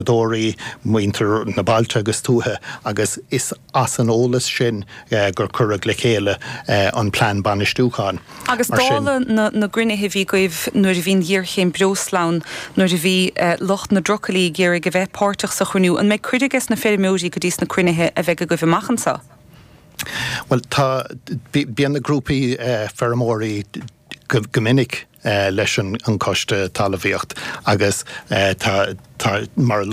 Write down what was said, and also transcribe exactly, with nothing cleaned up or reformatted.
Dóirí muintir na bailte agus tuaithe agus is as an eolas sin gur cuireadh le chéile an plean bainistiúcháin. Agus dála na gcruinnithe a bhí agaibh nuair a bhí an ghéarchéim breosla ann, nuair a bhí lucht na dtrucailí ag iarraidh a bheith páirteach sa chruinniú, an mbeidh cuireadh ages na feirmeoirí go dtí sna cruinnithe a bheidh agaibh amach anseo? Bhuel tá, bíonn na grúpaí feirmeoirí go minic leis an Coiste Talmhaíocht agus tá, tá, mar a